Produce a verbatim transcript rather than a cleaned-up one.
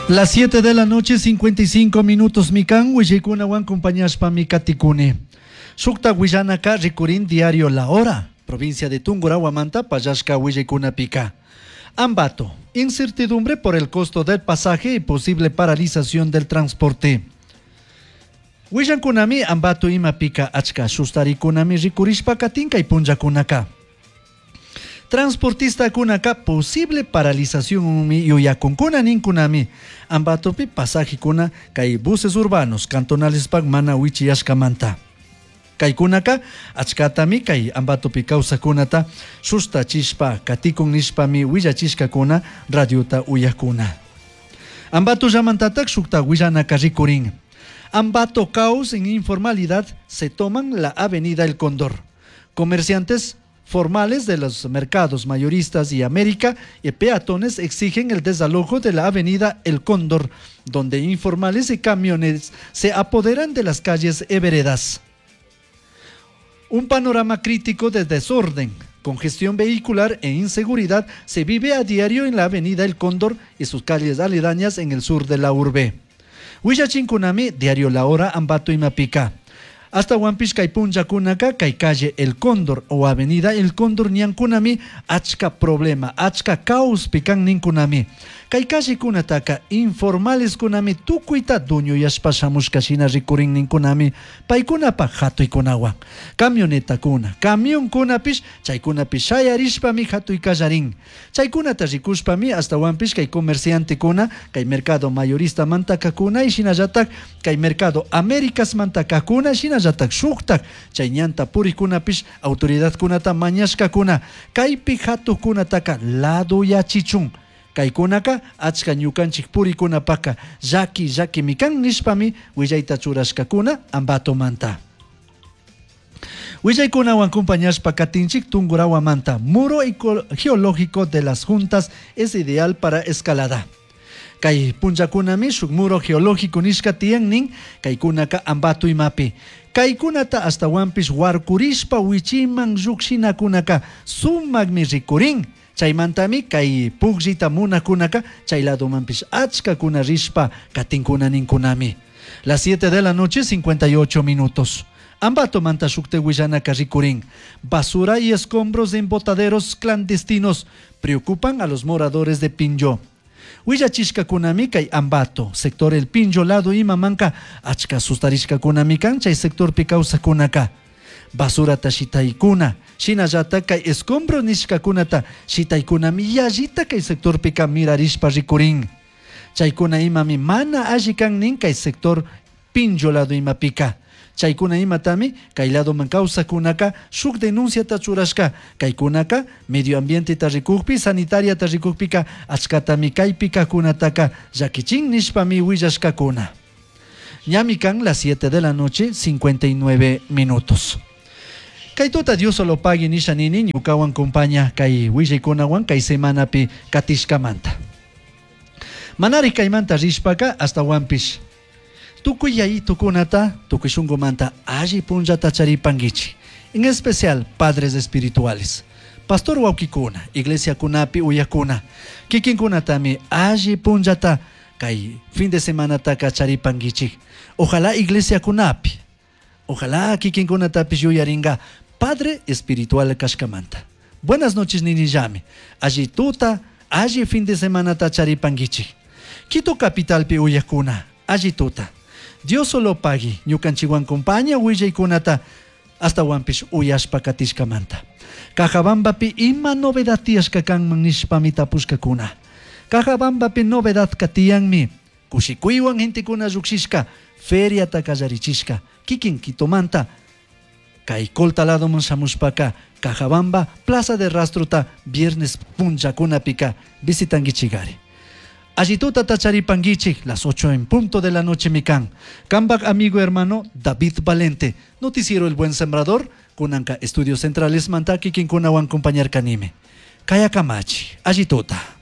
Las siete de la noche, cincuenta y cinco minutos mi kan, willaykunawan compañashpami katikuni. Shukta willanaka rikurin diario La Hora, provincia de Tungurahuamanta pallashka willaykunapika. Ambato, incertidumbre por el costo del pasaje y posible paralización del transporte. Willankunami Ambato imapika achka shustarikunami rikurishpa katin kay punllakunaka. Transportista kunaka posible paralización mi yuyakunkuna ninkunami Ambatopi pasajekuna kay buses urbanos cantonales pak mana wichiyashkamanta. Kaykunaka achkatami kay Ambatopi kawsakunata shustachishpa katikun nishpami willachishkakuna radiota uyakuna. Ambato llamantatak shukta willanaka rikurin. Ambato, caos en informalidad, se toman la avenida El Cóndor. Comerciantes formales de los mercados mayoristas y América y peatones exigen el desalojo de la avenida El Cóndor, donde informales y camiones se apoderan de las calles y veredas. Un panorama crítico de desorden, congestión vehicular e inseguridad se vive a diario en la avenida El Cóndor y sus calles aledañas en el sur de la urbe. Willachinkunami, diario La Hora, Ambato imapika. Ashtahuanpish kay punllakunaka kay calle El Cóndor o avenida El Cóndor ñankunami achka problema, achka caos pikan ninkunami. Kay callekunataka informales kunami tukuyta duñuyashpa shamushka shina rikurin ninkunami paykunapaj hatuykunawan. Camionetakuna, camionkunapish chaykunapish shayarishpami hatuy kallarin. Chaykunata rikushpami ashtahuanpish kay comerciantekuna, kay mercado mayorista mantakakuna y shinallatak kay mercado Américas mantakakuna shinallatak shuktak chay ñanta purikunapish autoridadkunata mañashkakuna kaypi hatukunataka ladoyachichun. Kaykunaka achka ñukanchik purikunapaka llaki llakimi kan nishpami willayta churashkakuna Ambatomanta. Willaykunawan compañashpa katinchik Tungurahuamanta. Muro geológico de Las Juntas es ideal para escalada. Kay punllakunami shuk muro geológico nishka tiyan nin kaykunaka Ambato imapi. Kaykunata ashtahuanpish warkurishpa wichiman llukshinakunaka sumakmi rikurin. Chaymantami kay pukllita munakunaka chay ladomanpish achkakuna rishpa katinkuna ninkunami. Las siete de la noche, cincuenta y ocho minutos. Ambato manta shukte willanaka rikurin. Basura y escombros en botaderos clandestinos preocupan a los moradores de Pinllo. Willachishkakunami kay Ambato, sector El Pinllo lado imamanka achka sustarishkakunami kan chay sectorpi kawsakunaka. Basurata shitaykuna, shinallata kay escombro nishkakunata shitaykunami yallita kay sectorpika mirarishpa rikurin. Chaykuna imami mana alli kan nin kay sector Pinllo lado imapika. Chaykuna imatami kay ladoman kawsakunaka shuk denunciata churashka kaykunaka medio ambienteta rikukpi sanitariata rikukpika achkatami kaypika kunataka llakichin nishpami willashkakuna. Ñami kan las siete de la noche, cincuenta y nueve minutos. Kay tuta Dios solo pagui nisha nini ñukawan compaña kay willaykunawan kay semanapi katishkamanta. Manari kaymanta rishpaka ashtahuanpish tukuy yayitukunata tukuy shunkumanta alli punllata charipankichik. En especial padres espirituales. Pastor wawkikuna, iglesia kunapi uyakuna, kikinkunatami alli punllata kay fin de semanataka charipankichik. Ojalá iglesia kunapi, ojalá kikinkunatapish yuyaringa padre espiritual kashkamanta. Buenas noches ninillami. Alli tuta, alli fin de semanata charipankichik. Quito capitalpi uyakuna, alli tuta. Dios solo pagui, ñukanchikwan compaña willaykunata ashtahuanpish uyashpa katishkamanta. Cajabambapi ima novedad tiyashka kanman nishpami tapushkakuna. Cajabambapi novedad katiyanmi. Kushikuywan gentekuna llukshishka, feriata kallarichishka, kikin Quitomanta kay Colta ladoman shamushpaka Cajabamba Plaza de Rastrota viernes punllakunapika visitankichikari. Alli tutata charipankichik, las ocho en punto de la noche mi kan. Kambak amigo hermano David Valente. Noticiero El Buen Sembrador, kunanka Estudios Centrales manta kikinkunawan compañar kanime. Kaya kamachi, alli tuta.